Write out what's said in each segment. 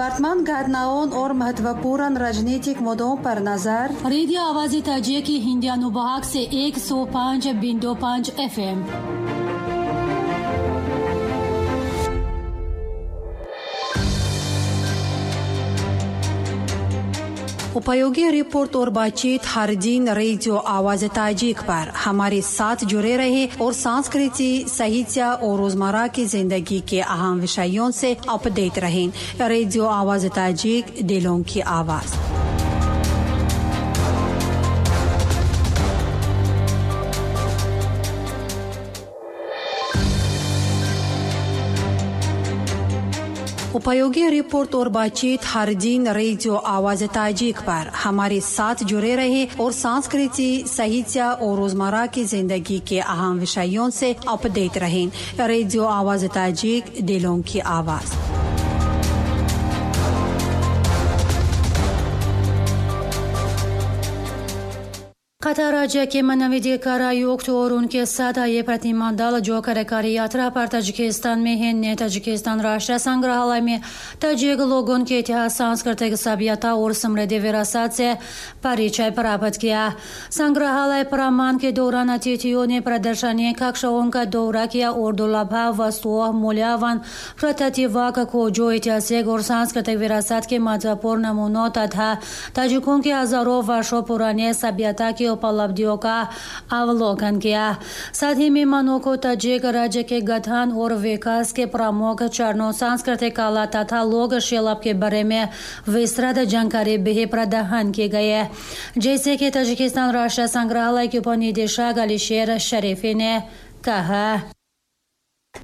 वर्तमान घटनाओं और महत्वपूर्ण राजनीतिक मुद्दों पर नजर। रेडियो आवाज़ ताजिक की हिंदी अनुभाग से 105.5 FM। उपयोगी रिपोर्ट और बातचीत हर दिन रेडियो आवाज ताजिक पर हमारे साथ जुड़े रहे और संस्कृति, साहित्य और रोजमर्रा की जिंदगी के अहम विषयों से अपडेट रहें। रेडियो आवाज ताजिक, दिलों की आवाज। उपयोगी रिपोर्ट और बातचीत हर दिन रेडियो आवाज ताजिक पर हमारे साथ जुड़े रहे और संस्कृति, साहित्य और रोजमर्रा की जिंदगी के अहम विषयों से अपडेट रहें। रेडियो आवाज ताजिक, दिलों की आवाज। कतर राज्य के मानवाधिकार आयुक्त और उनके साथ आए प्रतिनिधिमंडल जो कार्यकारी यात्रा पर ताजिकिस्तान में है, ने ताजिकिस्तान राष्ट्रीय संग्रहालय में ताजिक लोगों के इतिहास, सांस्कृतिक सभ्यता और समृद्ध विरासत से परिचय प्राप्त किया। संग्रहालय भ्रमण के दौरान अतिथियों ने प्रदर्शनी कक्षाओं का दौरा किया और दुर्लभ वस्तुओं, मूल्यवान प्रतिवाक खोजों, ऐतिहासिक और सांस्कृतिक विरासत के महत्वपूर्ण नमूनों तथा ताजिकों के हजारों वर्षों पुराने सभ्यता की उपलब्धियों का अवलोकन किया। साथ ही मेहमानों को ताजिक राज्य के गठन और विकास के प्रमुख चरणों, सांस्कृतिक कला तथा लोक शिल्प के बारे में विस्तृत जानकारी भी प्रदान की गई, जैसे कि ताजिकिस्तान राष्ट्रीय संग्रहालय के उपनिदेशक अलीशेर शरीफी ने कहा।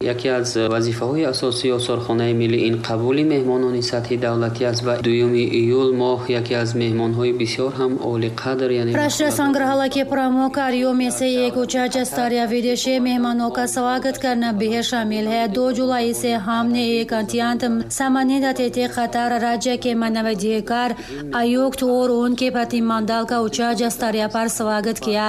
Яке аз вазифаҳои асосии осорхонаи миллӣ ин қабули меҳмонони сатҳи давлатӣ аст ва 2 июл мо яке аз меҳмонҳои бисёр ҳам олиқадр, яъне राष्ट्रीय संग्रहालय के प्रमुख कार्यों में से एक उच्च स्तरीय विदेशी मेहमानों का स्वागत करना भी शामिल है। 2 जुलाई से हमने एक अत्यंत सम्मानित अतिथि कतर राज्य के मानवाधिकार आयुक्त और उनके प्रतिनिधिमंडल का उच्च स्तरीय पर स्वागत किया।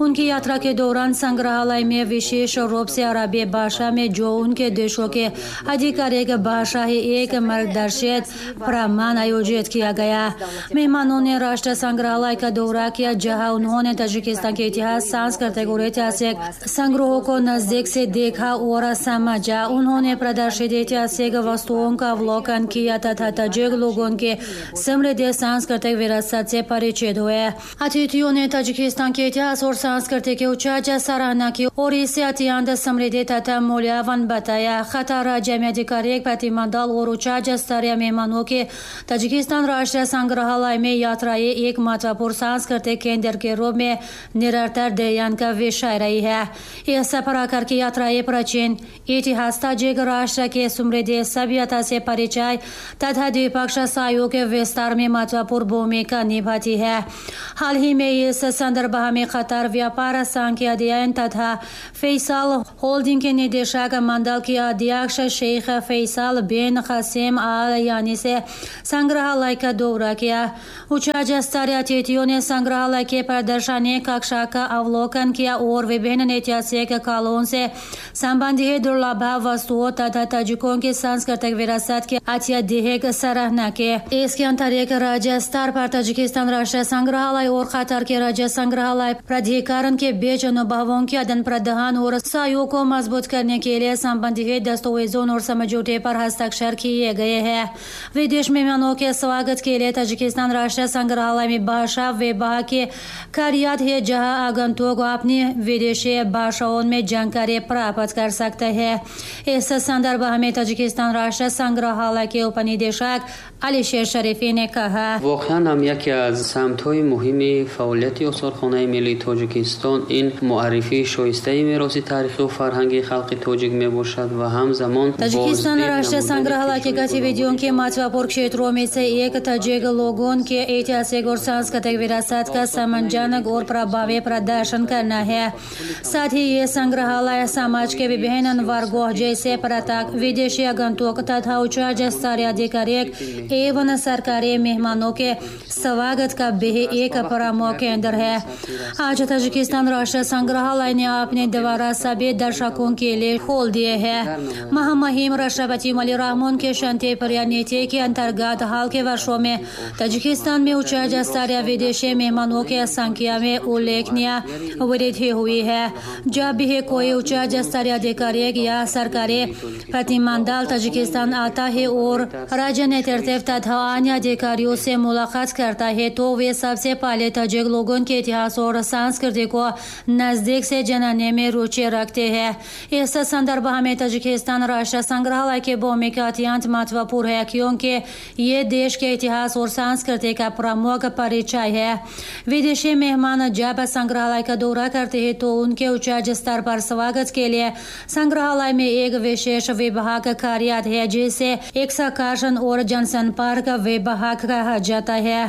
उनकी यात्रा के दौरान संग्रहालय में विशेष रूप से अरबी भाषा में, जो उनके देशों के आधिकारिक भाषा है, एक मार्गदर्शित भ्रमण आयोजित किया गया। मेहमानों ने राष्ट्रीय संग्रहालय का दौरा किया, जहां उन्होंने ताजिकिस्तान के इतिहास, सांस्कृतिक और ऐतिहासिक संग्रहों को नजदीक से देखा और समझा। उन्होंने प्रदर्शित ऐतिहासिक वस्तुओं का अवलोकन किया तथा ताजिक लोगों के समृद्ध सांस्कृतिक विरासत से परिचित हुए। अतिथियों ने ताजिकिस्तान के इतिहास और संस्कृति की उच्च सराहना की और इसे अत्यंत समृद्ध तथा मूल्यवान बताया। कतर राज्य में आधिकारिक प्रतिनिधिमंडल और उच्च स्तरीय मेहमानों के ताजिकिस्तान राष्ट्रीय संग्रहालय में यात्राएं एक महत्वपूर्ण सांस्कृतिक केंद्र के रूप में निरंतर ध्यान का विषय रही है। इस प्रकार की यात्राएं प्राचीन इतिहास, ताजिक राष्ट्र के समृद्ध सभ्यता से परिचय तथा द्विपक्षीय सहयोग के विस्तार में महत्वपूर्ण भूमिका निभाती है। हाल ही में इस संदर्भ में कतर व्यापार संघ के अध्ययन तथा फैसल होल्डिंग के निदेशक मंडल के अध्यक्ष शेख फैसल बिन कासिम आल यानी से संग्रहालय का दौरा किया। उच्च स्तरीय अतिथियों ने संग्रहालय के प्रदर्शनी कक्षा का अवलोकन किया और विभिन्न ऐतिहासिक कालों से संबंधित दुर्लभ वस्तुओं तथा ताजिकों की सांस्कृतिक विरासत की अत्यधिक सराहना की। इसके अंतर्गत राज्य स्तर पर ताजिकिस्तान राष्ट्रीय संग्रहालय और कतर के राज्य संग्रहालय प्राधिकरण के बीच अनुभवों के आदान प्रदान और सहयोग को मजबूत करने के लिए संबंधित दस्तावेजों और समझौते पर हस्ताक्षर किए गए हैं। विदेश मेहमानों के स्वागत के लिए ताजिकिस्तान राष्ट्रीय संग्रहालय में भाषा विभाग के कार्यालय है, जहां आगंतुक अपनी विदेशी भाषाओं में जानकारी प्राप्त कर सकते हैं। इस संदर्भ में ताजिकिस्तान राष्ट्रीय संग्रहालय के उपनिदेशक अलीशेर शरीफी ने कहा। воқеан ҳам яке аз самтҳои муҳими фаъолияти осорхонаи миллии Тоҷикистон ин муаррифии шоистаи мероси таърихию фарҳангии халқи тоҷик мебошад ва ҳамзамон Таджикистан राष्ट्रीय संग्रहालय की गतिविधियों के महत्वपूर्ण क्षेत्रों में से एक ताजिक लोगों के ऐतिहासिक और सांस्कृतिक विरासत का सम्मानजनक और प्रभावी प्रदर्शन करना है। साथ ही ये संग्रहालय समाज के विभिन्न वर्गों जैसे पर्यटक, विदेशी आगंतुक तथा उच्च स्तरीय अधिकारी एवं सरकारी मेहमानों के स्वागत का भी एक प्रमुख केंद्र है। आज ताजिकिस्तान राष्ट्रीय संग्रहालय ने अपने द्वारा सभी दर्शकों के लिए खोल दिए हैं। महामहिम राष्ट्रपति इमोमली रहमोन के शांति प्रिय नीति के अंतर्गत हाल के वर्षों में ताजिकिस्तान में उच्च स्तरीय विदेशी मेहमानों की संख्या में उल्लेखनीय वृद्धि हुई है। जब भी कोई उच्च स्तरीय अधिकारी या सरकारी प्रतिनिधिमंडल ताजिकिस्तान आता है और राज्य नेतृत्व तथा अन्य अधिकारियों से मुलाकात करता है, तो वे सबसे पहले ताजिक लोगों के इतिहास और संस्कृति को नजदीक से जानने में रुचि रखते हैं। इस संदर्भ में ताजिकिस्तान राष्ट्र संग्रहालय की भूमिका अत्यंत महत्वपूर्ण है, क्योंकि ये देश के इतिहास और संस्कृति का प्रमुख परिचय है। विदेशी मेहमान जब संग्रहालय का दौरा करते हैं, तो उनके उच्च स्तर पर स्वागत के लिए संग्रहालय में एक विशेष विभाग कार्यरत है, जिसे एक्सकर्शन और जनसंपर्क विभाग कहा जाता है।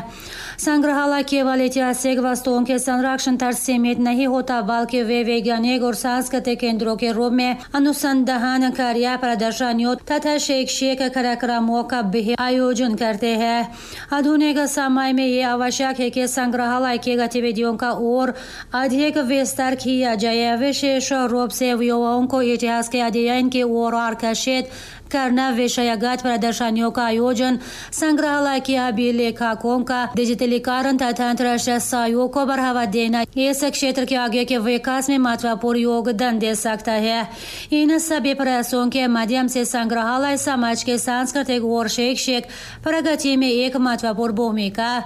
संग्रहालय केवल ऐतिहासिक वस्तुओं के संरक्षण तक सीमित नहीं होता, बल्कि वे वैज्ञानिक और सांस्कृतिक केंद्रों के रूप में अनुसंधान कार्य, प्रदर्शनियों तथा शैक्षिक कार्यक्रमों का भी आयोजन करते हैं। आधुनिक समय में ये आवश्यक है कि संग्रहालय की गतिविधियों का और अधिक विस्तार किया जाए। विशेष रूप से युवाओं को इतिहास के अध्ययन की ओर आकर्षित करना, विषयगत प्रदर्शनियों का आयोजन, संग्रहालय के अभिलेखों का डिजिटलीकरण तथा अंतर्राष्ट्रीय सहयोग को बढ़ावा देना इस क्षेत्र के आगे के विकास में महत्वपूर्ण योगदान दे सकता है। इन सभी प्रयासों के माध्यम से संग्रहालय समाज के सांस्कृतिक और शैक्षिक प्रगति में एक महत्वपूर्ण भूमिका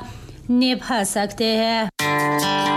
निभा सकते हैं।